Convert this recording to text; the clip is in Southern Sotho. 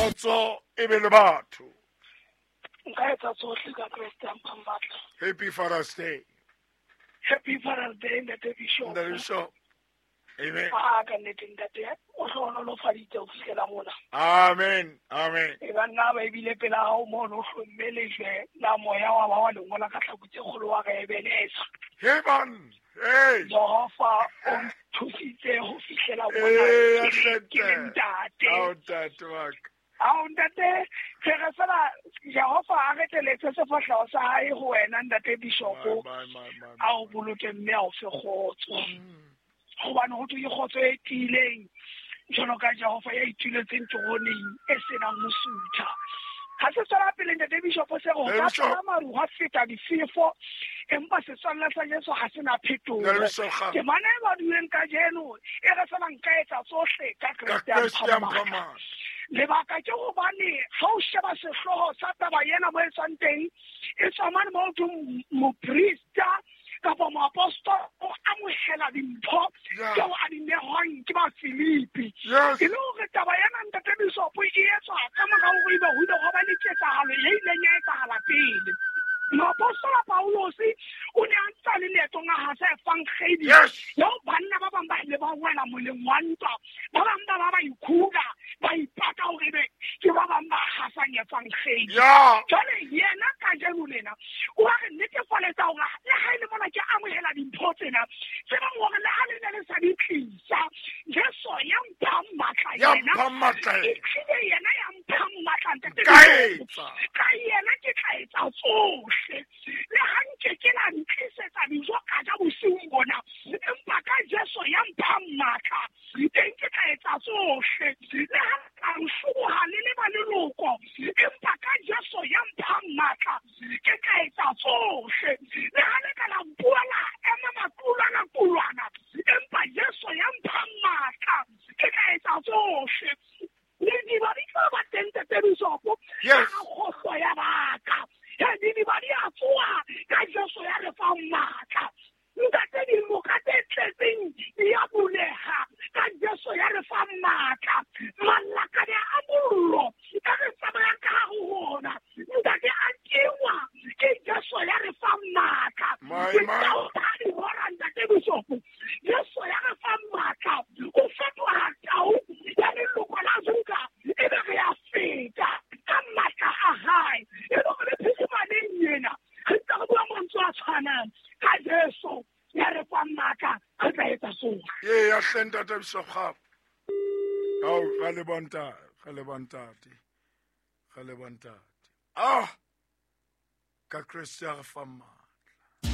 Kgotso e be le batho. Nka etsa tsohle ka Kreste a mphang matla. Happy Father's Day. Happy Father's Day, Ntate Bishop. Ntate Bishop. Amen. A ka nnete ntate o hlohonolofaditse ho fihlela mona. Amen. Amen. E ka nna ba ebile pela hao mono o hlomme lejwe la moya wa ba wa le ngola ka tlhaku tse kgolo wa re ebenesa. Hey man. Hey. Jehova o nthusitse ho fihlela mona. Ee, Ke le ntate. Ao ntate wa ka. Ao ntate, re re fela Jehova a re teletse sefahleho sa hae ho wena ntate Bishopo. My, my, my, my, A o boloke mme a o fe kgotso. Hobane ho thwe ke kgotso e tiileng jwalo ka Jehova ya ituletseng teroneng e senang ho sutha. Ha se tswela pele ntate Bishopo se re ho ka Bishop. tlala maru hwa feta difefo, empa setswalle sa Jesu ha se na phetoho. Ntate Bishop Kgama. Temana e badilweng kajeno e re fela nka etsa tsohle ka Ka Kreste ya Kreste ya mphang matla. mphang matla. Lebaka ke hobane ha o sheba sehlooho sa taba ena mo e tswang teng, e tswa mane mo ho thweng moprista kapa moapostola o amohela dimpho tseo a di nehwang ke ba Filipi. Yes. E le hore taba ena ntate Bishopo e etswa ka mora hore ebe ho ile hwa ba le ketsahalo e ileng ya etsahala pele. Moapostola Paulose o ne a ntse a le leetong a hasa evangedi. Yes. Eo banna ba bang ba ile ba wela moleng wa ntwa, ba bang ba ba ba ikhula, ba ipaka hore ebe ke ba bang ba hasang evangedi. Yeah. Jwale yena kajeno lena o a re netefaletsa hore le ha e le mona ke amohela dimpho tsena, tsebang hore le ha le ne le sa di tlisa, Jesu ya mphang matla Ya yena, mphang matla e yena. tlile yena ya mphang matla ntate Ka Bishopo. etsa. Ka yena ke tla etsa tsohle. Le ha nke ke la ntlisetsa dijo ka ja bosiung bona, empa ka Jesu ya mphang matla, teng ke tla etsa tsohle. Le ha ka hloboha le le ba leloko, empa ka Jesu ya mphang matla, ke tla etsa tsohle. Le ha le ka la mpuela ema makulwana kulwana, empa Jesu ya mphang matla, ke tla etsa tsohle. Didiba di tla ba teng ntate Bishopo. Yes. Ka kgohlo ya baka. Ya didiba di a tsoha ka Jesu ya re fang matla. Ntate dinoka tse tletseng di a buleha ka Jesu ya re fang matla. Malakane a mollo a re tsamayang ka hare ho ona. Ntate a kengwa ke Jesu ya re fang matla. My, Ke my. tau ha di hora ntate Bishopo. Jesu ya re fang matla. O fetoha tau ya leloko la Juda, ebe re a feta ka matla a hae. E le hore le phirimaneng ena, re ntse re bua mantswe a tshwanang. Ka Jesu ya re fang matla, re tla etsa tsohle. Ee, ya hle ntate Bishop Kgama. Ao, ra leboha ntate, ra leboha ntate. Ra leboha ntate. Ah! Ka Kreste ya re fang matla.